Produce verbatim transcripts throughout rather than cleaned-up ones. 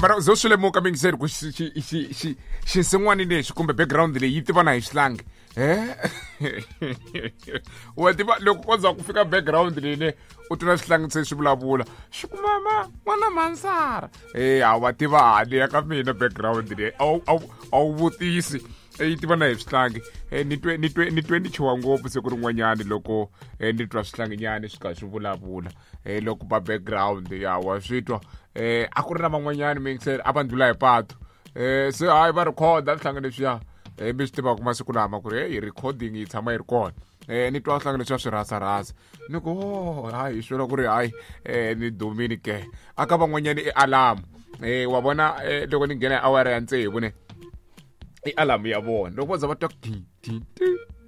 Mara zo swi lemuka mingiseri ku xi xi xi xi xinsin'wani lexi kumbe background leyi yi tiva na hi xihlangi eh wa tiva loko ko za ku fika background leyi ne u twa xihlangi se swi vulavula xi ku mama n'wana mansara eh a wa tiva hali ya ka mina background leyi a wu a wu vutisi yi tiva na hi swihlangi ni twe ni twe ni twe ni chuha ngopfu siku rin'wanyani loko ni twa swihlanginyani swi karhi swi vulavula loko ba background ya wa swi twa eh a ku ri na van'wanyani mingiseri a va ndlula hi patu eh se hayi va rhekhoda swihlangi leswiya eh mi swi tivaka masiku lama ku ri hey recording yi tshama yi ri kona eh ni twa swihlangi leswiya swi rhasarhasa ni ku oh hayi swi vula ku ri hayi eh ni dumini ke aka van'wanyani i alarm eh wa vona loko ni nghena hi awara ya tsevu ne i alarm ya vona loko va za va twa ti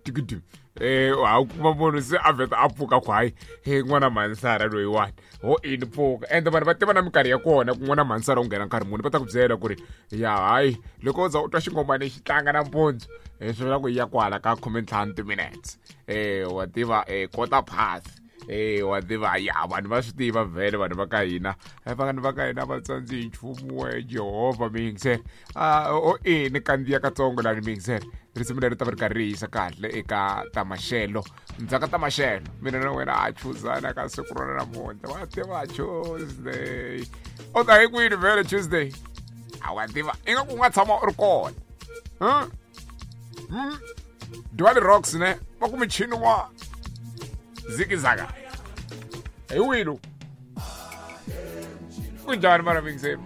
ti eh ha kuma munhu se a vheta a pfuka ku hayi he n'wana mansara loyiwani ho ini pfuka ende vanhu va tiva na minkarhi ya kona ku n'wana mansara u nghena nkarhi muni va ta ku byela ku ri ya hayi loko u za u twa xingomani xi tlanga nampundzu um swi vula ku ya kwala ka khumentlhanu timinutes um wa tiva um quarter past eh wa tiva ya vanhu va swi tiva vhele vanhu va ka hina vanhu va ka hina va tsandzi hi nchumu we Jehovha mingiseri a o e ni kandziya katsongo lani mingiseri risimu leri ta va ri karhi ri yisa kahle eka tamaxelo ndzhaka tamaxelo mina na wena a chuzana ka siku rona namuntlha wa tiva Tuesday u ta hi kwini vhele Tuesday a wa tiva ingaku u nga tshama u ri kona hmm? hmm? Diwali Rocks ne va ku michini wa zigizaka hi wilo kunjani mara mingiseri.